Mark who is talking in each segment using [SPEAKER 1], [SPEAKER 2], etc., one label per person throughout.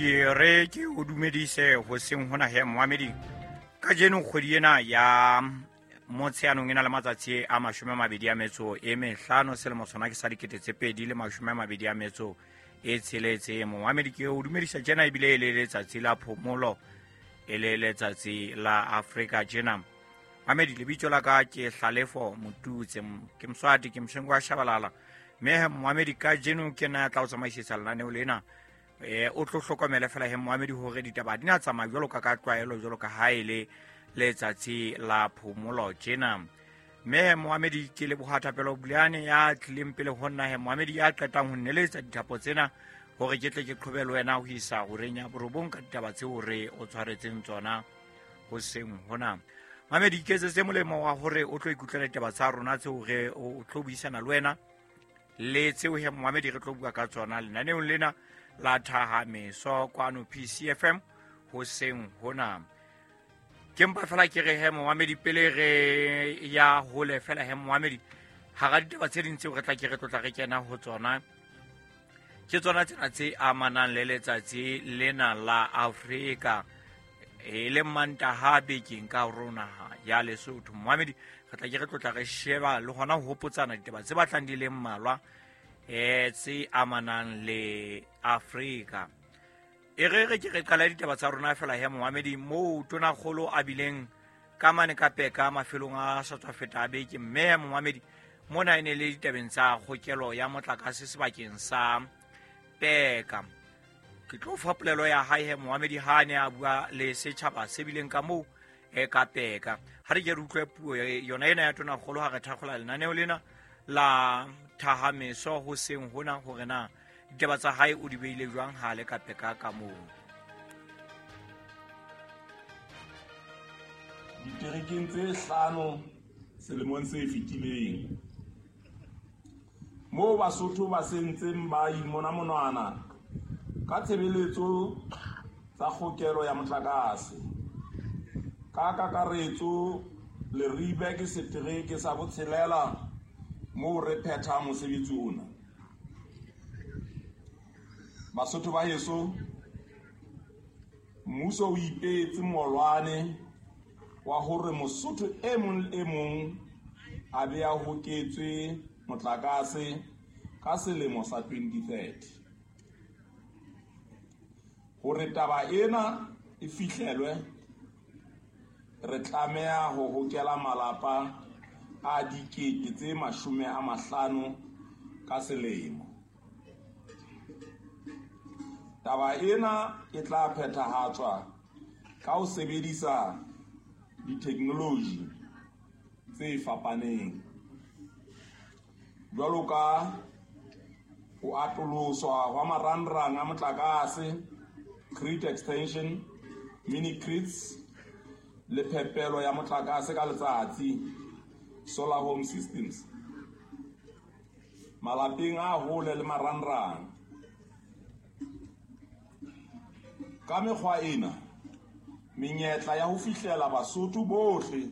[SPEAKER 1] Ke re ke o dumedise hoseng hona he moamedi. Kajeno kgwedi ena ya Motsheanong e na le matsatsi a 25, selemo sona ke sa 2026. Moamedi ke o dumedisa tjena ebile e le letsatsi la phomolo, e le letsatsi la Afrika tjena. Moamedi, lebitso la ka ke Hlalefo Motutse, ke Moswati, ke Moshengo wa Shabalala. Mme moamedi, kajeno ke nna ya tla o tsamaisetsa lenaneo lena. O tlo hlokomele fela he moamedi hore ditaba di na tsamaya jwalo ka tlwaelo, jwalo ka ha e le letsatsi la phomolo tjena. Mme moamedi, ke leboha Thapelo Buleane ya tlileng pele ho nna he moamedi, ya qetang ho nneletsa dithapo tsena hore ke tle ke qhobe le wena ho isa horeng ya 9 ka ditaba tseo re o tshwaretseng tsona hoseng hona. Moamedi, iketsetse molemo wa hore o tlo ikutlwela ditaba tsa rona tseo re o tlo buisana le wena le tseo he moamedi re tlo bua ka tsona lenaneong lena la Thahameso kwano PCFM hoseng hona. Ke mpa fela ke re he moamedi, pele re ya hole fela he moamedi, hara ditaba tse ding tseo re tla ke re tlotla re kena ho tsona ke tsona tsena tse amanang le letsatsi lena la Afrika, e le Mantaha bekeng ka rona ya Lesotho. Moamedi, re tla ke re tlotla re sheba le hona ho hopotsana ditaba tse batlang di le mmalwa tse amanang le Afrika. E re re ke re qala ditaba tsa rona fela he moamedi, moo tonakgolo a bileng ka mane ka Peka mafelong a sa tswa feta a beke. Mme moamedi, mona e ne le ditabeng tsa kgokelo ya motlakase sebakeng sa Peka. Ke tlo fa polelo ya hae he moamedi ha a ne a bua le setjhaba se bileng ka moo e ka Peka. Ha re ke re utlwe puo yona ena ya tonakgolo ha re thakgola lenaneo lena la Thahameso hoseng hona, hore na ditaba tsa hae o di beile jwang ha le ka Peka ka moo.
[SPEAKER 2] Diterekeng tse 5 selemong se fetileng, moo Basotho ba sentseng ba imona monwana ka tshebeletso tsa kgokelo ya motlakase. Ka kakaretso, Leribe ke setereke sa botshelela moo re phethang mosebetsi ona. Basotho ba heso, mmuso o ipeetse molwane wa hore Mosotho e mong le e mong a be a hoketswe motlakase ka selemo sa 2030. Hore taba ena e fihlelwe, re tlameha ho hokela malapa a 50,000 ka selemo. Taba ena e tla phethahatswa ka ho sebedisa ditheknoloji tse fapaneng, jwalo ka ho atoloswa hwa marangrang a motlakase, grid extension, mini grids, le phepelo ya motlakase ka letsatsi, solar home systems, malapeng a hole le marangrang. Ka mekgwa ena, menyetla ya ho fihlela Basotho bohle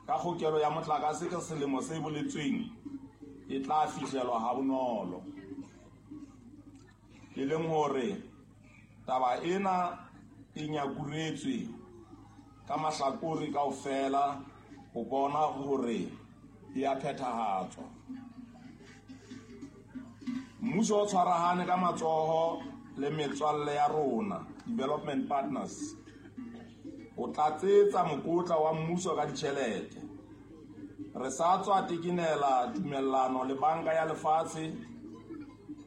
[SPEAKER 2] ka kgokelo ya motlakase ka selemo se boletsweng e tla fihlelwa ha bonolo. E leng hore taba ena e nyakuretswe ka mahlakore kaofela ho bona hore e a phethahatswa. Mmuso o tshwarahane ka matsoho le metswalle ya rona, development partners, ho tlatsetsa mokotla wa mmuso ka ditjhelete. Re sa tswa tekenela tumellano le Banka ya Lefatshe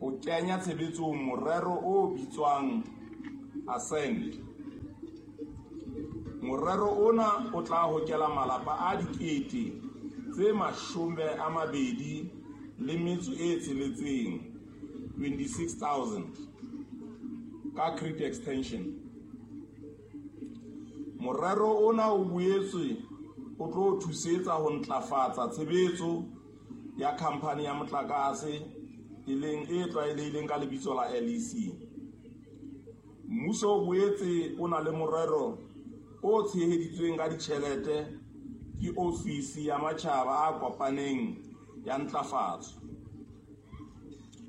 [SPEAKER 2] ho kenya tshebetsong morero o bitswang Ascend. Morero ona o tla hokela malapa a 26,000, 26,000, ka grid extension. Morero ona o boetse o tlo thusetsa ho ntlafatsa tshebetso ya khampani ya motlakase e leng e tlwaelehileng ka lebitso la LEC. Mmuso o boetse o na le morero o tsheheditsweng ka ditjhelete ke Ofisi ya Matjhaba a Kopaneng ya Ntlafatso,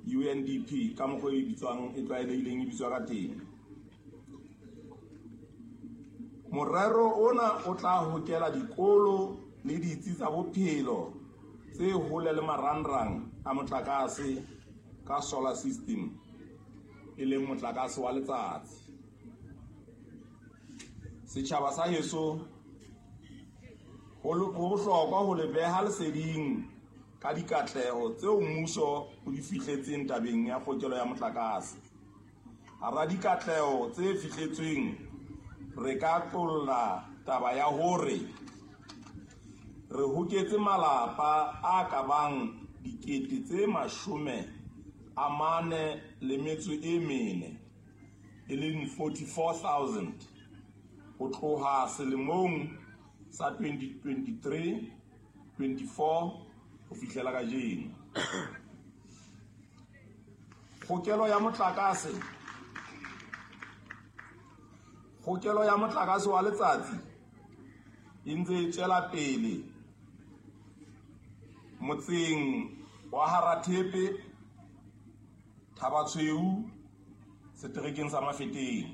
[SPEAKER 2] UNDP ka mokgwa e bitswang e tlwaelehileng e bitswa ka teng. Morero ona o tla hokela dikolo le ditsi tsa bophelo tse hole le marangrang a motlakase ka solar system, e leng motlakase wa letsatsi. Setjhaba sa heso, ho bohlokwa ho le beha leseding ka dikatleho tseo mmuso o di fihletseng tabeng ya kgokelo ya motlakase. Hara dikatleho tse fihletsweng, re ka qolla taba ya hore re hoketse malapa a ka bang 44,000, e leng 44,000, ho tloha selemong sa 2023-24 ho fihlela kajeno. Kgokelo ya motlakase wa letsatsi e ntse e tswela pele motseng wa Harathepe, Thabatshweu, seterekeng sa Mafeteng,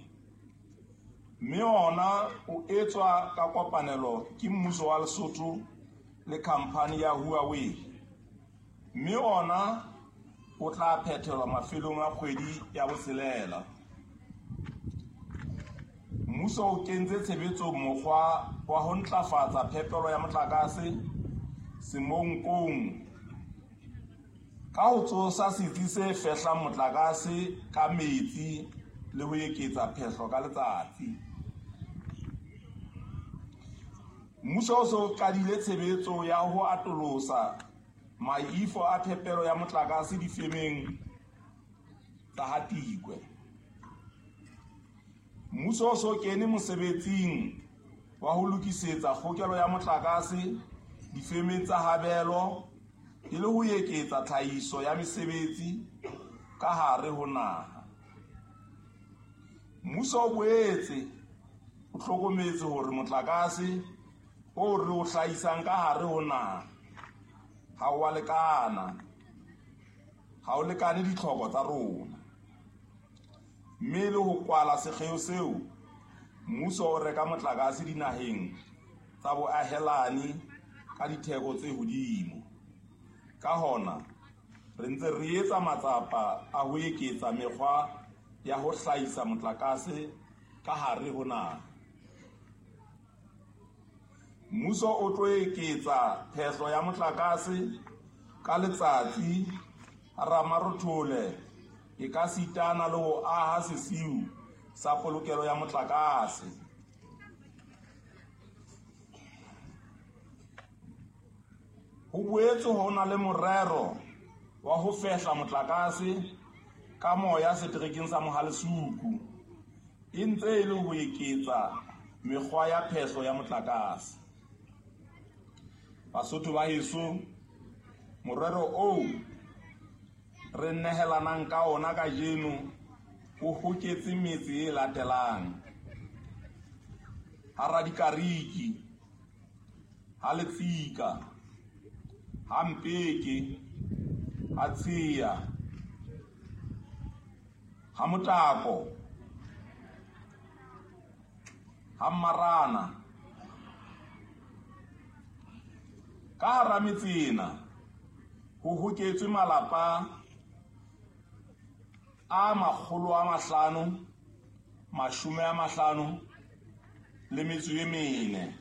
[SPEAKER 2] mme ona o etswa ka kopanelo ke mmuso wa Lesotho le khamphani ya Huawei, mme ona o tla phethelwa mafelong a kgwedi ya botshelela. Mmuso o kentse tshebetsong mokgwa wa ho ntlafatsa phepelo ya motlakase Semonkong ka ho tsosa setsi se fehlang motlakase ka metsi le ho eketsa phehlo ka letsatsi. Mmuso o so qadile tshebetso ya ho atolosa maifo a phepelo ya motlakase difemeng tsa Hatikwe. Mmuso o so kene mosebetsing wa ho lokisetsa kgokelo ya motlakase difemeng tsa Habelo e le ho eketsa tlhahiso ya mesebetsi ka hare ho naha. Mmuso o boetse o hlokometse hore motlakase o re o hlahisang ka hare ho naha ha o a lekana, ha o lekane ditlhoko tsa rona, mme le ho kwala sekgeo seo, mmuso o reka motlakase dinaheng tsa boahelani ka ditheko tse hodimo. Ka hona, re ntse re etsa matsapa a ho eketsa mekgwa ya ho hlahisa motlakase ka hare ho naha. Mmuso o tlo eketsa phehlo ya motlakase ka letsatsi Ramarothole e ka sitana le ho aha sesiu sa polokelo ya motlakase. Ho boetse ho na le morero wa ho fehla motlakase ka moya seterekeng sa Mohalesuku, e ntse e le ho eketsa mekgwa ya phehlo ya motlakase. Basotho ba heso, morero oo re nehelanang ka ona kajeno o hoketse metse e latelang: ha Radikariki, ha Letsika, ha Mpeke, ha Tshea, ha Motako, ha Mmarana. Ka hara metse ena ho hoketswe malapa a 554.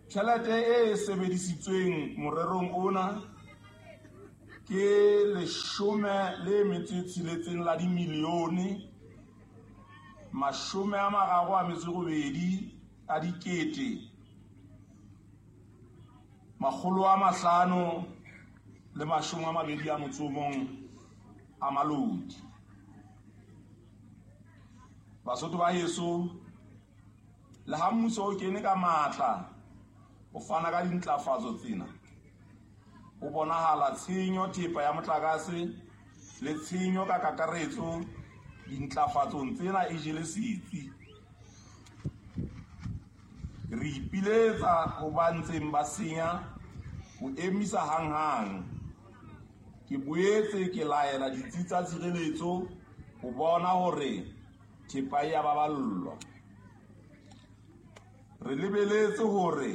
[SPEAKER 2] Tjhelete e sebedisitsweng morerong ona ke 16 la dimilione 38 a dikete 521 a malodi. Basotho ba heso, le ha mmuso o kene ka matla ho fana ka dintlafatso tsena, ho bonahala tshenyo thepa ya motlakase le tshenyo ka kakaretso dintlafatsong tsena e jele setsi. Re ipiletsa ho ba ntseng ba senya ho emisa hanghang. Ke boetse ke laela ditsi tsa tshireletso ho bona hore thepa e a baballwa. Re lebeletse hore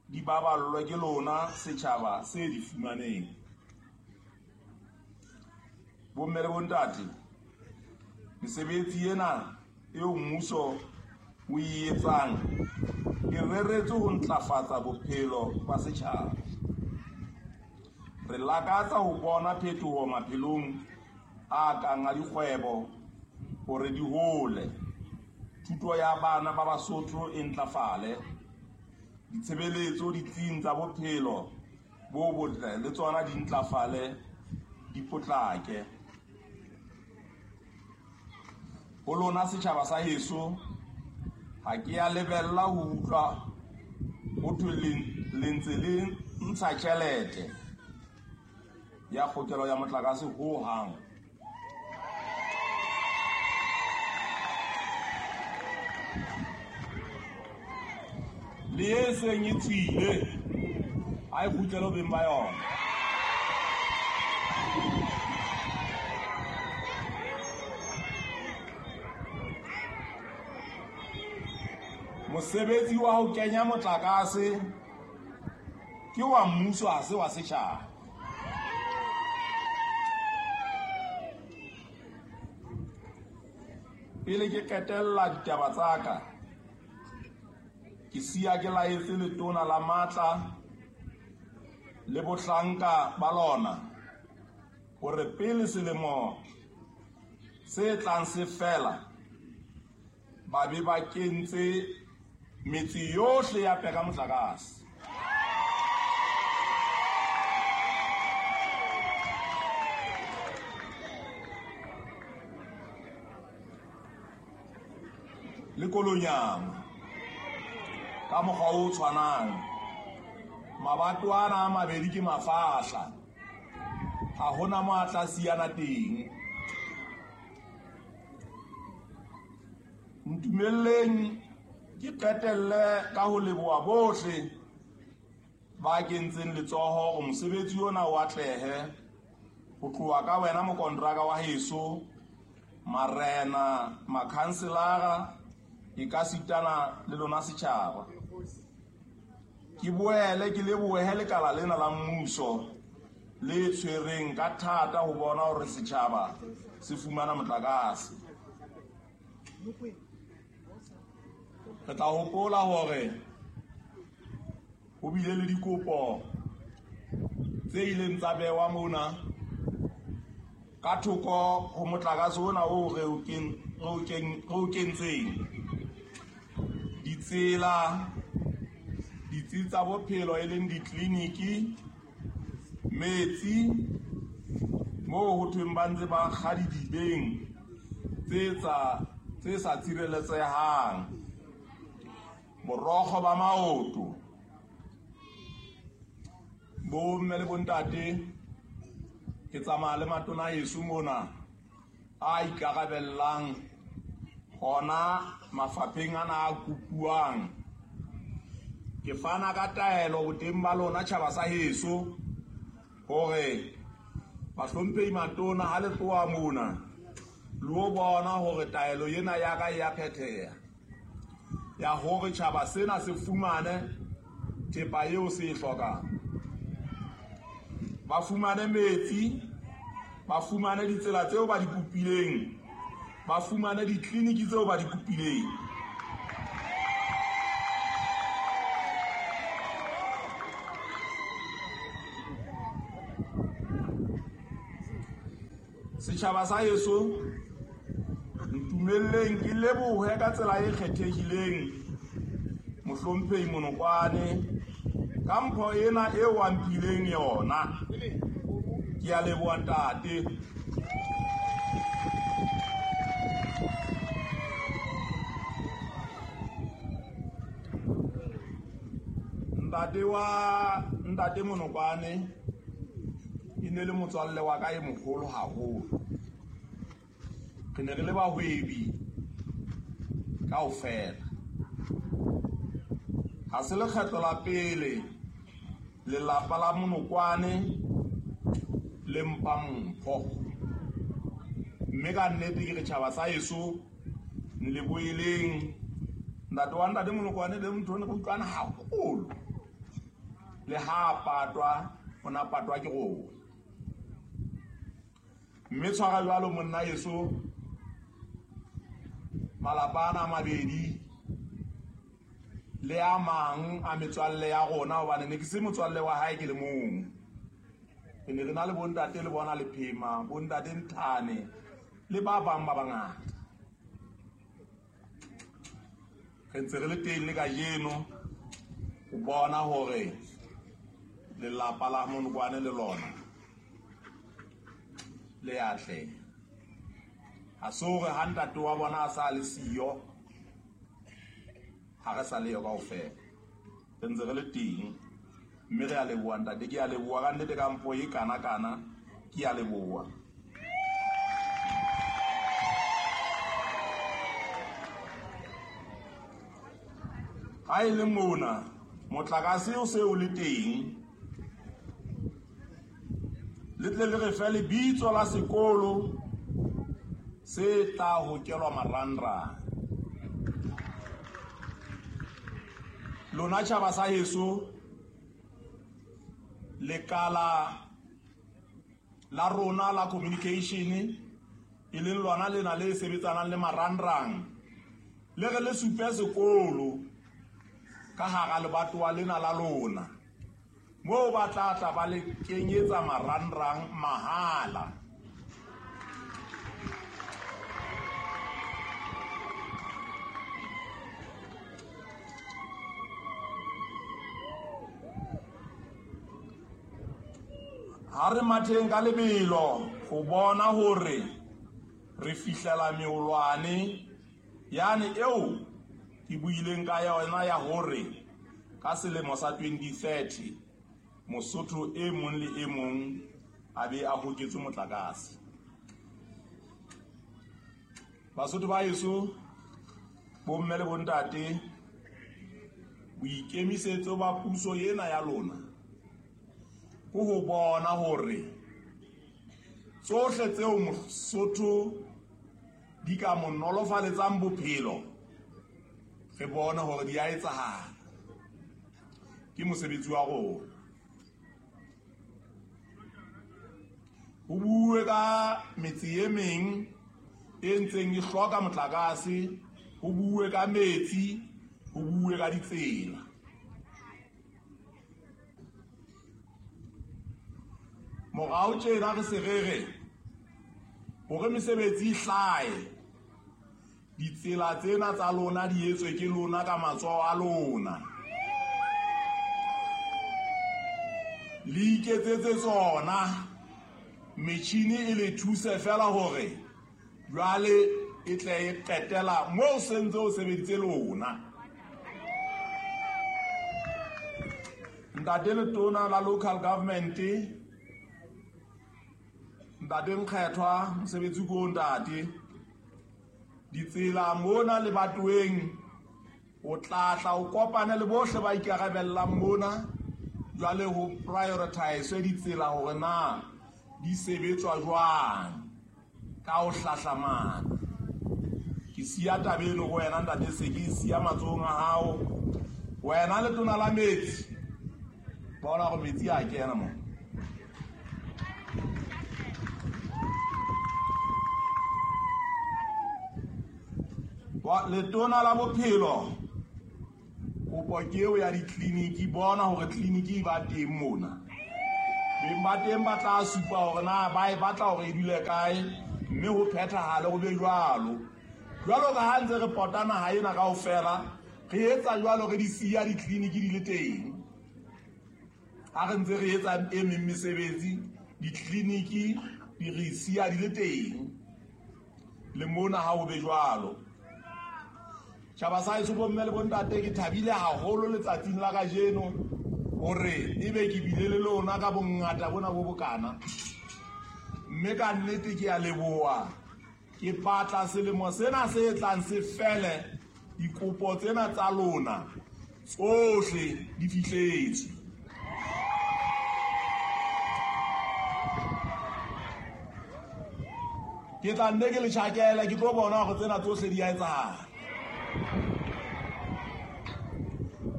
[SPEAKER 2] di baballwe ke lona setjhaba se di fumaneng. Bomme le bontate, mesebetsi ena eo mmuso o e etsang e reretswe ho ntlafatsa bophelo ba setjhaba. Re lakatsa ho bona phetoho maphelong a kang a dikgwebo hore di hole, thuto ya bana ba Basotho e ntlafale, ditshebeletso ditsing tsa bophelo bo botle le tsona di ntlafale, di potlake. Ho lona setjhaba sa heso, ha ke a lebella ho utlwa ho thwe le ntse le ntsha tjhelete ya kgokelo ya motlakase ho hang. Le e seng e tswile, ha e kgutlele ho beng ba yona. Mosebetsi wa ho kenya motlakase ke wa mmuso, ha se wa setjhaba. Pele ke qetella ditaba tsa ka, ke siya ke laetse letona la matla le bohlanka ba lona hore pele selemo se tlang se fela ba be ba kentse metse yohle ya peka motlakase. Le Kolonyama ka mokgwa o tshwanang, mabato ana a mabedi ke mafahla, ha hona mo a tla siyana teng. Ntumelleng ke qetelle ka ho leboha bohle ba kentseng letsoho hore mosebetsi ona o atlehe, ho tloha ka wena mokontraka wa heso, marena, makhanselara, e ka sitana le lona setjhaba. Ke boele ke lebohe lekala lena la mmuso le tshwereng ka thata ho bona hore setjhaba se fumana motlakase. Re tla hopola hore ho bile le dikopo tse ileng tsa bewa mona ka thoko ho motlakase ona oo re o kentseng. Ditsela, ditsi tsa bophelo e leng ditleliniki, metsi moo ho thweng ba ntse ba kga didibeng tse sa tshireletsehang, borokgo ba maoto. Bomme le bontate, ke tsamaya le matona heso mona a ikarabellang hona mafapheng ana a kopuwang. Ke fana ka taelo boteng ba lona tjhaba sa heso hore bahlomphehi matona ha le tloha mona le o bona hore taelo ena ya ka e ya phetheha, ya hore tjhaba sena se fumane thepa eo se e hlokang. Ba fumane metsi, ba fumane ditsela tseo ba di kopileng, ba fumane ditleliniki tseo ba di kopileng. Setjhaba sa heso, ntumelleng ke lebohe ka tsela e kgethehileng mohlomphehi Monokwane ka mpho ena eo a mphileng yona. Ke a leboha ntate. Ntate wa ntate Monokwane e ne le motswalle wa ka e moholo haholo. Re ne re le bahwebi kaofela. Ha se lekgetlo la pele lelapa la Monokwane le le mpa mpho. Mme ka nnete ke re tjhaba sa heso nleboheleng ntate wa ntate Molokwane le motho ne re utlwana haholo. Le ha patwa o na patwa ke rona. Mme tshwara jwalo monna heso malapa ana a mabedi le a mang a metswalle ya rona, hobane ne ke se motswalle wa hae ke le mong. Re ne re na le bontate le bona Lephema, bontate Nthane le ba bang ba bangata. Re ntse re le teng le kajeno ho bona hore lelapa la Monokwane le lona le atleha. Ha se hore ha ntate wa bona a sa le siyo ha re sa le yo kaofela. Re ntse re le teng mme re a leboha ntate, ke a leboha ka nnete ka mpho e kana kana, ke a leboha. Ha e le mona motlakase o se o le teng, le tle le re fe lebitso la sekolo se tla hokelwa marangrang. Lona tjhaba sa heso, lekala la rona la communication e leng lona lena le sebetsanang le marangrang, le re le supe sekolo ka hara lebatowa lena la lona moo ba tla tla ba le kenyetsa marangrang mahala. Ha re matheng ka lebelo ho bona hore re fihlela meolwane yane eo ke buileng ka yona ya hore ka selemo sa 2030 Mosotho e mong le e mong a be a hoketswe motlakase. Basotho ba heso, bomme le bontate, boikemisetso ba puso ena ya lona ke ho bona hore tsohle tseo Mosotho di ka mo nolofaletsang bophelo re bone hore di a etsahala. Ke mosebetsi wa rona. Ho bue ka metse e meng e ntseng e hloka motlakase, ho bue ka metsi, ho bue ka ditsela. Morao tjena re se re re hore mesebetsi e hlahe, ditsela tsena tsa lona di etswe ke lona ka matsoho a lona. Le iketsetse tsona, metjhini e le thuse fela hore jwale e tle e qetela moo se ntse o sebeditse lona. Ntate Letona la local government, ntate Nkgethwa, mosebetsi ko ntate, ditsela mona lebatoweng o tla tla o kopane le bohle ba ikarabellang mona, jwale ho prioritize ditsela hore na di sebetswa jwang ka ho hlahlamana. Ke siya taba eno ho wena ntate, se ke siya matsohong a hao. Wena Letona la metsi, bona hore metsi a kena mo. Letona la bophelo, kopo ke eo ya ditleliniki, bona hore tleliniki e ba teng mona. Beng ba teng ba tla supa hore na ba e batla hore e dule kae, mme ho phethahale ho be jwalo. Jwalo ka ha ntse re pota naha ena kaofela, re etsa jwalo, re di siya ditleliniki di le teng. Ha re ntse re etsa e meng mesebetsi, ditleliniki di re siya di le teng. Le mona ha ho be jwalo. Tjhaba sa heso, bomme le bontate, ke thabile haholo letsatsing la kajeno hore ebe ke bile le lona ka bongata bona bo bokana. Mme ka nnete ke a leboha. Ke batla selemo sena se tlang se fele, dikopo tsena tsa lona tsohle di fihletswe. Ke tla nne ke le tjhakele, ke tlo bona hore tsena tsohle di a etsahala.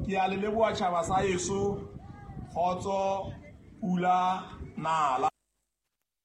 [SPEAKER 2] Ke a le leboha tjhaba sa heso, kgotso, pula, nala.